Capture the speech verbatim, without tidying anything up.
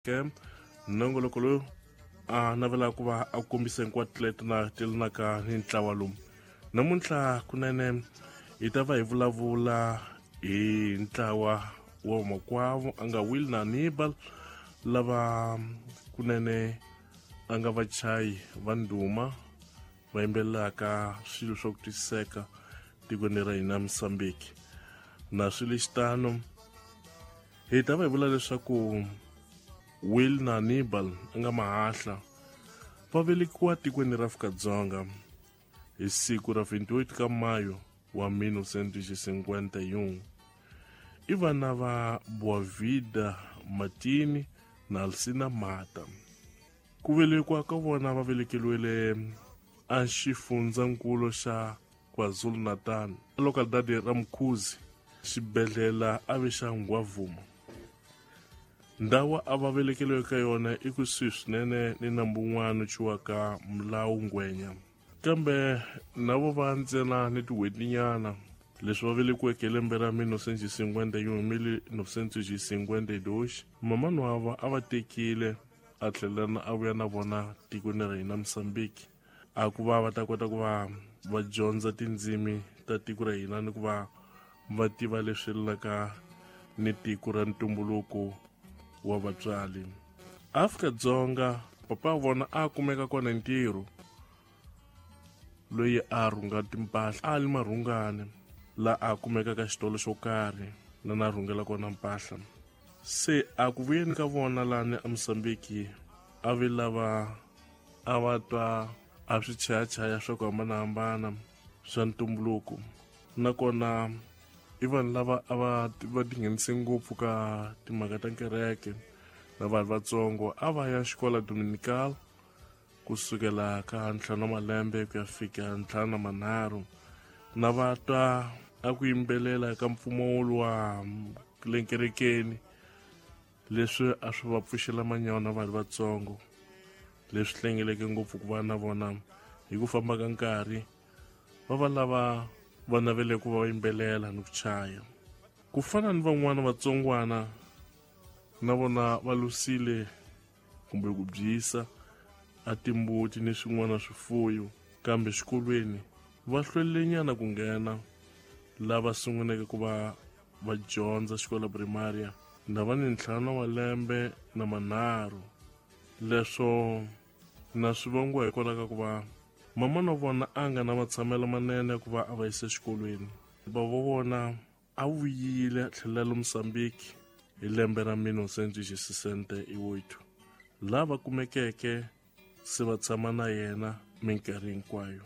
Ke nongoloko lowu a navela ku va a kombisa hinkwato leti na telanaka ni ntlawa lowu. Namuntlha kunene hi ta va hi vulavula hi ntlawa wa vamakwavo a nga Will na Hannibal, lava kunene a nga vachayi va ndhuma va yimbelelaka swilo swa ku twisiseka tikweni ra hina Mozambique. Na swilo xitano hi ta va hi vula leswaku Will na Hannibal a nga mahahla va velekiwa tikweni ra Afrika-Dzonga hi siku ra twenty-eight ka Mayo wa mille novecentos cinquenta e um. I vana va Boavida Martini na Alcina Mata. Ku velekiwa ka vona va velekeriwile a xifundzankulu xa KwaZulu-Natal, localidade ra Mkhuzi, xibedhlele a ve xa Ngwavuma. Ndhawu a va velekeriwe ka yona i kusuhi swinene ni nambu wun'wana ciwaka Mulawu Ngwenya. Kambe na vo va ntsena ni tin'hwetinyana leswi va velekiweke hi lembe ra mille novecentos cinquenta e um, mille novecentos cinquenta e dois, mamani wa va a va tekile a tlhela a vuya na vona tikweni ra hina Mozambique, a ku va va ta kota ku va va dyondza tindzimi ta tiko ra hina ni ku va va tiva leswi yelanaka ni tiko ra ntumbuluko wa vatswari. Afrika-Dzonga papa wa vona a kumeka kona ntirho loyi a rhunga timpahla, a li marhungane la a kumeka ka xitolo xo karhi la na rhungela kona mpahla. Se a ku vuyeni ka vona lani a Mozambique a vi lava a va twa a swi chayachaya swa ku hambanahambana swa ntumbuluko, nakona i vanhu lava a va va tinghenise ngopfu ka timhaka ta kereke na vanhu vatsongo. A va ya xikola Dominical kusukela ka ntlhanu wa malembe ku ya fika ntlhanu na manharhu, na va twa a ku yimbelela ka mpfumawulo wa le kerekeni, leswi a swi va pfuxela manyawa na vanhu vatsongo, leswi hlengeleke ngopfu ku va na vona hi ku famba ka nkarhi va va lava va navele ku va yimbelela ni ku chaya. Ku fana ni van'wana vatsongwana na vona va lusile kumbe ku byisa a timbuti ni swin'wana swifuyo, kambe xikolweni va hlwelenyana ku nghena. Lava sunguleke ku va va dyondza xikolo primaria na va ni ntlhanu wa lembe na manharhu. Leswo na swi vangiwa hikwalaho ka ku va mama na vona a nga na matshamelo manene ku va a va yisa exikolweni. Bava vona a vuyile a tlhelela le Mozambique hi lembe ra mille novecentos sessenta e oito, lava kumekeke se va tshama na yena minkarhi hinkwayo.